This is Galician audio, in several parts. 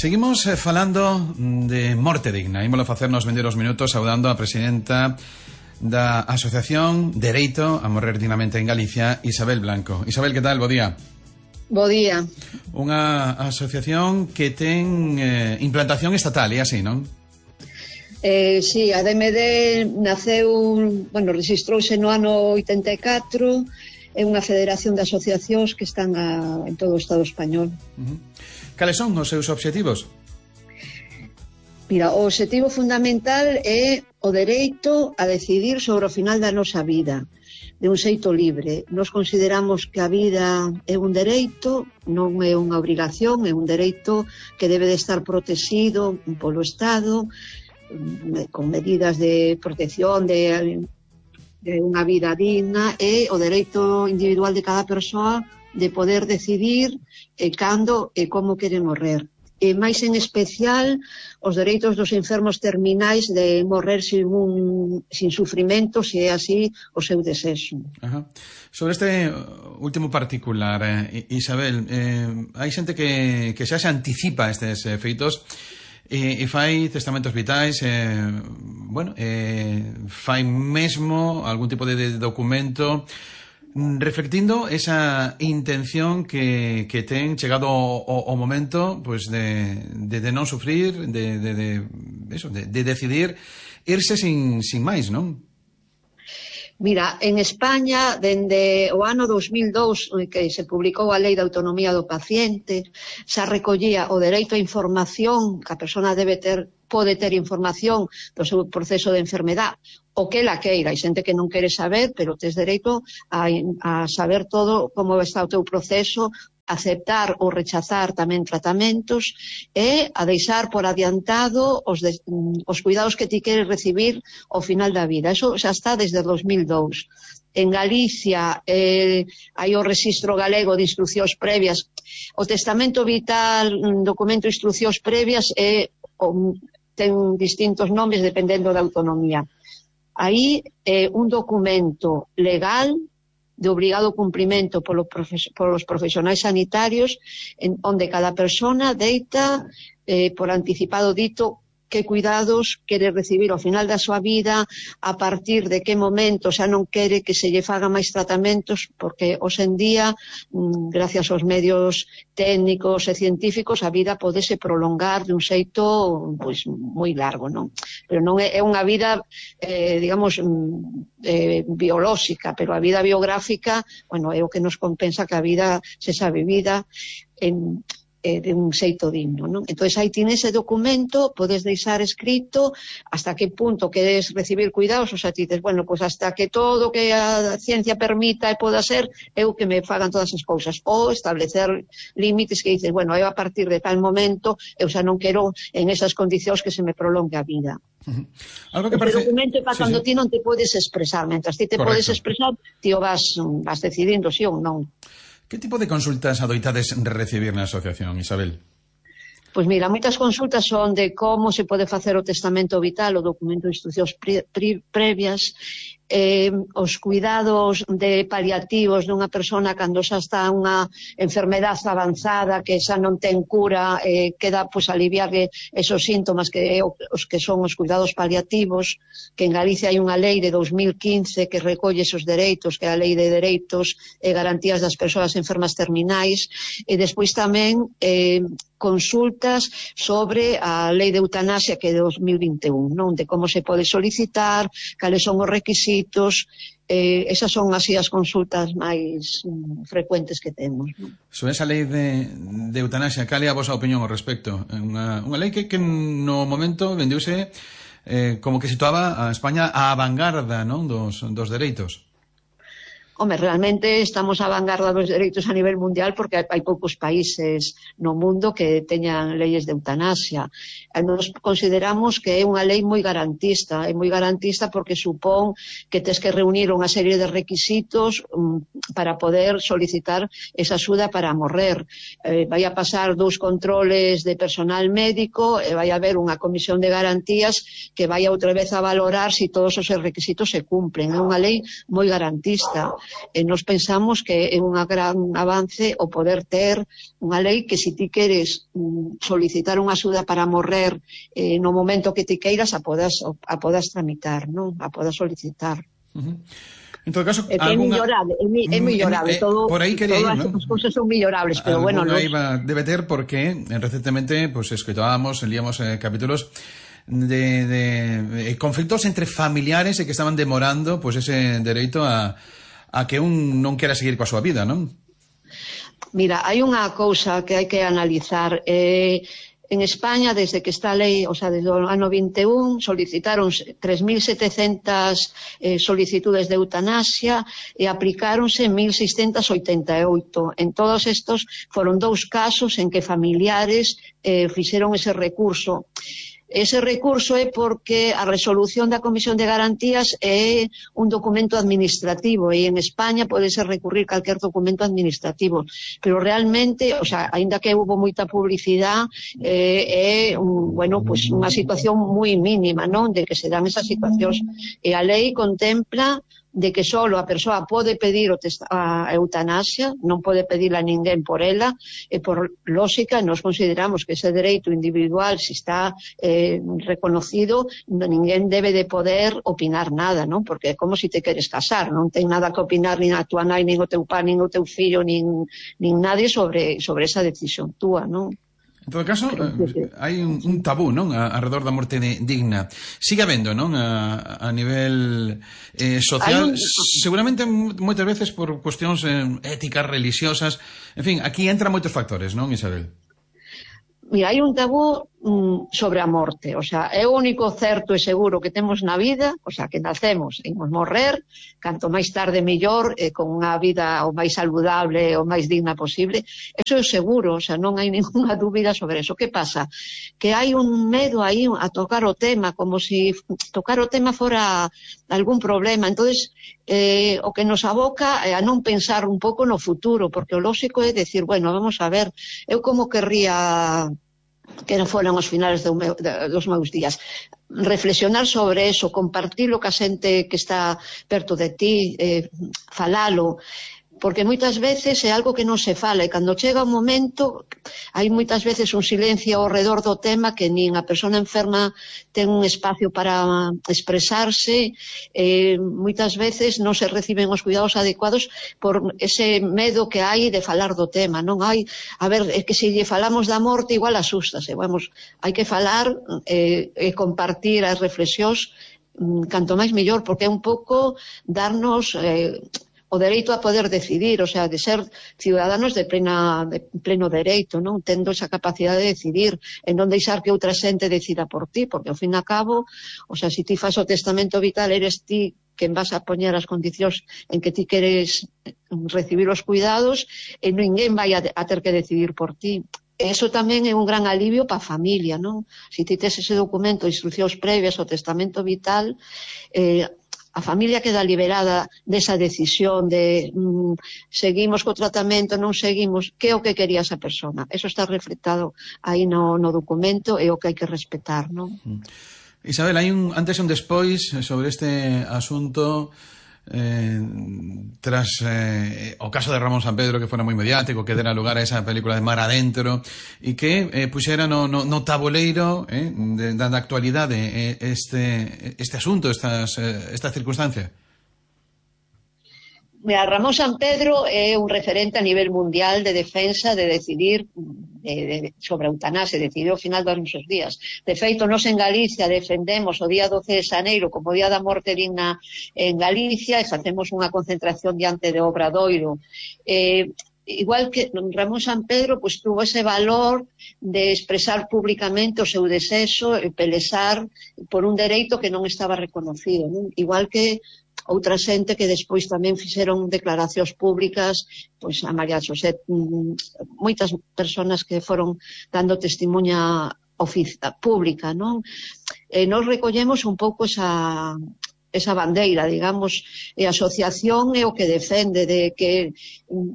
Seguimos falando de morte digna. Ímolo facer nos vendeiros minutos saudando a presidenta da Asociación Dereito a Morrer Dignamente en Galicia, Isabel Blanco. Isabel, que tal? Bo día. Bo día. Unha asociación que ten implantación estatal, e así, non? Sí, a DMD registrouse no ano 84, é unha federación de asociacións que están en todo o Estado español. Cales son os seus obxectivos? Mira, o obxectivo fundamental é o dereito a decidir sobre o final da nosa vida, de un xeito libre. Nos consideramos que a vida é un dereito, non é unha obrigación, é un dereito que debe de estar protegido polo Estado, con medidas de protección de unha vida digna, e o dereito individual de cada persoa de poder decidir cando e como quere morrer. E máis en especial os dereitos dos enfermos terminais de morrer sin sufrimento, se é así o seu desexo. Sobre este último particular, Isabel, hai xente que xa se anticipa estes feitos e fai testamentos vitais, fai mesmo algún tipo de documento reflectindo esa intención que ten chegado o momento, pues, de non sufrir, de decidir irse sin máis, non? Mira, en España, dende o ano 2002, que se publicou a Lei de Autonomía do Paciente, xa recollía o dereito á información, que a persona pode ter información do seu proceso de enfermedade, o que ela queira. Hai xente que non quere saber, pero tes dereito a saber todo como está o teu proceso, aceptar ou rechazar tamén tratamentos e a deixar por adiantado os cuidados que ti queres recibir ao final da vida. Eso xa está desde 2002. En Galicia hai o Rexistro Galego de Instruccións Previas. O testamento vital, documento de instruccións previas, ten distintos nomes dependendo da autonomía. Aí é un documento legal de obrigado cumprimento polos profesionais sanitarios, onde cada persona deita por anticipado dito que cuidados quere recibir ao final da súa vida, a partir de que momento xa non quere que se lle faga máis tratamentos, porque hoxe en día, gracias aos medios técnicos e científicos, a vida podese prolongar de un xeito pois moi largo, non? Pero non é unha vida, biolóxica, pero a vida biográfica, é o que nos compensa que a vida sexa vivida de un xeito digno, non? Entón, aí tienes ese documento, podes deixar escrito hasta que punto queres recibir cuidados, o sea, ti dices, hasta que todo que a ciencia permita e poda ser, eu que me fagan todas as cousas, ou establecer límites que dices, eu a partir de tal momento, eu xa non quero en esas condicións que se me prolongue a vida. Algo que parece... O documento é para cando ti non te podes expresar, mentras ti te podes expresar, ti o vas decidindo si ou non. Que tipo de consultas adoitades recibir na asociación, Isabel? Pois mira, moitas consultas son de como se pode facer o testamento vital, o documento de instruccións previas, os cuidados de paliativos dunha persona cando xa está unha enfermedade avanzada que xa non ten cura, queda aliviarle esos síntomas que os que son os cuidados paliativos, que en Galicia hai unha lei de 2015 que recolle esos dereitos, que é a Lei de Dereitos e Garantías das Persoas Enfermas Terminais, e despois tamén consultas sobre a Lei de Eutanasia, que é de 2021, non? De como se pode solicitar, cales son os requisitos. Esas son así as consultas máis frecuentes que temos, non? Sobre esa lei de eutanasia, cal é a vosa opinión ao respecto? Unha lei que no momento vendeuse como que situaba a España á vanguarda, non? dos dereitos. Realmente estamos á vanguarda dos dereitos a nivel mundial porque hai poucos países no mundo que teñan leyes de eutanasia. Nos consideramos que é unha lei moi garantista, porque supón que tes que reunir unha serie de requisitos para poder solicitar esa axuda para morrer. Vai a pasar 2 controles de personal médico e vai a haber unha comisión de garantías que vai outra vez a valorar se todos os requisitos se cumplen. É unha lei moi garantista. Nos pensamos que é unha gran avance o poder ter unha lei que se ti queres solicitar unha axuda para morrer no momento que ti queiras a podas tramitar, non? A podas solicitar. En todo caso, é mellorable, é mellorable todo, por aí quería ir, as cousas son mellorables, pero bueno, debe ter porque recientemente pues escoitábamos, líamos capítulos de conflictos entre familiares e que estaban demorando pues ese dereito a que un non quera seguir coa súa vida, non? Mira, hai unha cousa que hai que analizar. En España, desde que está a lei, o sea, desde o ano 21, solicitaron 3.700 solicitudes de eutanasia e aplicáronse 1.688. En todos estos foron 2 casos en que familiares fixeron ese recurso. Ese recurso é porque a resolución da Comisión de Garantías é un documento administrativo e en España podese recurrir calquer documento administrativo, pero realmente, o sea, aínda que houve moita publicidade, é pues unha situación moi mínima, non? De que se dan esas situacións. E a lei contempla de que só a persoa pode pedir a eutanasia, non pode pedirla a ninguén por ela, e por lógica nos consideramos que ese dereito individual, se está reconocido, ninguén debe de poder opinar nada, non? Porque é como se te queres casar, non ten nada que opinar nin a tua nai, nin o teu pai, nin o teu fillo, nin nadie sobre esa decisión túa, non? En todo caso, hai un tabú, non? Alrededor da morte digna. Sigue habendo, non? A nivel social, seguramente moitas veces por cuestións éticas, religiosas. En fin, aquí entran moitos factores, non, Isabel? Mira, hai un tabú sobre a morte, o sea, é o único certo e seguro que temos na vida, o sea, que nacemos e imos morrer, canto máis tarde mellor, con unha vida o máis saludable, o máis digna posible, eso é seguro, o sea, non hai ninguna dúbida sobre eso. Que pasa? Que hai un medo aí a tocar o tema, como se tocar o tema fora algún problema, entonces o que nos aboca é a non pensar un pouco no futuro, porque o lógico é decir, bueno, vamos a ver, eu como querría que non foran os finales dos meus días, reflexionar sobre eso, compartilo ca xente que está perto de ti, falalo, porque moitas veces é algo que non se fala e cando chega un momento hai moitas veces un silencio ao redor do tema que nin a persona enferma ten un espacio para expresarse, moitas veces non se reciben os cuidados adecuados por ese medo que hai de falar do tema, non hai, a ver, é que se lle falamos da morte igual asústase, vamos, hai que falar e compartir as reflexións canto máis mellor, porque é un pouco darnos o dereito a poder decidir, o sea, de ser ciudadanos de pleno dereito, non? Tendo esa capacidade de decidir, e non deixar que outra xente decida por ti, porque ao fin e a cabo, o sea, se ti fas o testamento vital, eres ti quen vas a poñer as condicións en que ti queres recibir os cuidados e ninguén vai a ter que decidir por ti. Eso tamén é un gran alivio para a familia, non? Se ti tes ese documento, instruccións previas ao testamento vital, a familia queda liberada desa decisión de seguimos co tratamento, non seguimos, que é o que quería esa persona. Eso está reflectado aí no documento e o que hai que respetar, non? Isabel, hai un antes e un despois sobre este asunto tras o caso de Ramón Sampedro, que fora moi mediático, que dera lugar a esa película de Mar Adentro e que puxera no tabuleiro da actualidade este asunto, esta circunstancia. Mira, Ramón Sampedro é un referente a nivel mundial de defensa de decidir sobre a eutanasia, decidiu ao final dos nosos días. De feito, nós en Galicia defendemos o día 12 de xaneiro como Día da Morte Digna en Galicia e facemos unha concentración diante de Obradoiro. Igual que Ramón Sampedro, pues tuvo ese valor de expresar públicamente o seu desexo e pelexar por un dereito que non estaba reconocido, non? Igual que outra xente que despois tamén fixeron declaracións públicas, pois a María José, moitas persoas que foron dando testimonha pública, non? Nos recollemos un pouco esa bandeira, digamos, e a asociación é o que defende de que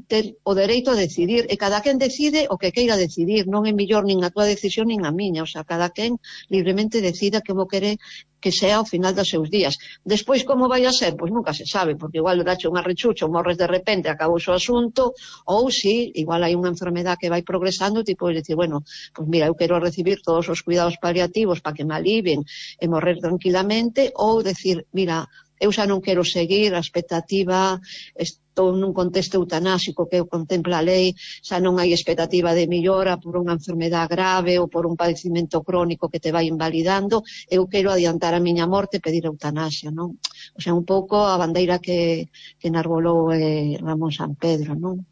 ter o dereito a decidir, e cada quen decide o que queira decidir, non é mellor nin a túa decisión nin a miña, o sea, cada quen libremente decida como quere que sea ao final dos seus días. Despois, como vai a ser? Pois nunca se sabe, porque igual dache unha rechucha ou morres de repente, acabou o asunto, ou si, igual hai unha enfermedad que vai progresando, tipo, dicir, bueno, pois mira, eu quero recibir todos os cuidados paliativos para que me alivien e morrer tranquilamente, ou decir, mira, eu xa non quero seguir a expectativa, estou nun contexto eutanásico que contempla a lei, xa non hai expectativa de millora por unha enfermedad grave ou por un padecimento crónico que te vai invalidando, eu quero adiantar a miña morte e pedir eutanasia, non? O sea, un pouco a bandeira que enarbolou Ramón Sampedro, non?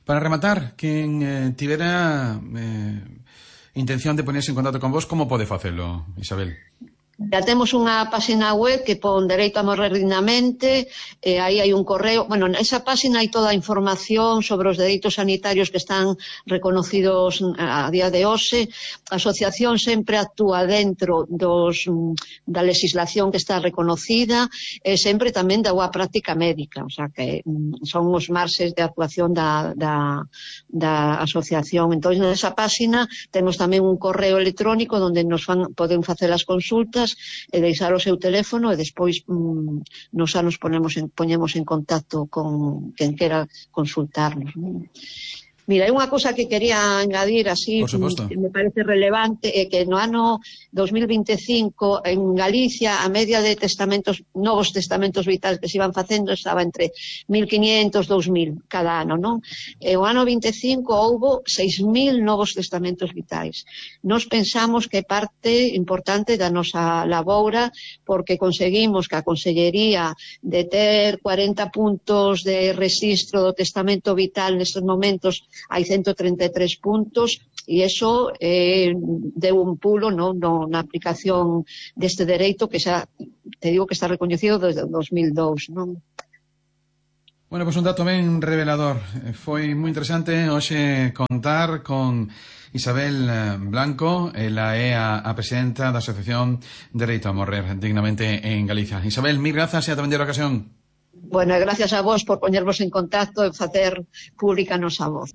Para rematar, quen tivera intención de ponerse en contacto con vos, como pode facelo, Isabel? Ya temos unha página web que pon Dereito a morrer dignamente, aí hai un correo, bueno, nesa página hai toda a información sobre os dereitos sanitarios que están reconocidos a día de hoxe. A asociación sempre actúa dentro da legislación que está reconocida e sempre tamén da boa práctica médica, o sea que son os marxes de actuación da asociación. Entón, nesa página temos tamén un correo electrónico onde poden facer as consultas e deixar o seu teléfono e despois nos xa nos poñemos en contacto con quen quera consultarnos. Mira, hai unha cousa que quería engadir así, que me parece relevante, é que no ano 2025 en Galicia a media de novos testamentos vitais que se iban facendo estaba entre 1.500 e 2.000 cada ano, non? E o ano 25 houbo 6.000 novos testamentos vitais. Nos pensamos que parte importante da nosa laboura, porque conseguimos que a Consellería de ter 40 puntos de rexistro do testamento vital nestes momentos hai 133 puntos e iso deu un pulo na aplicación deste dereito que xa te digo que está recoñecido desde 2002, non? Bueno, pois un dato ben revelador. Foi moi interesante hoxe contar con Isabel Blanco, ela é a presidenta da Asociación Dereito a Morrer Dignamente en Galicia. Isabel, mil grazas e ata vender a ocasión. Bueno, gracias a vos por poñervos en contacto e facer pública a nosa voz.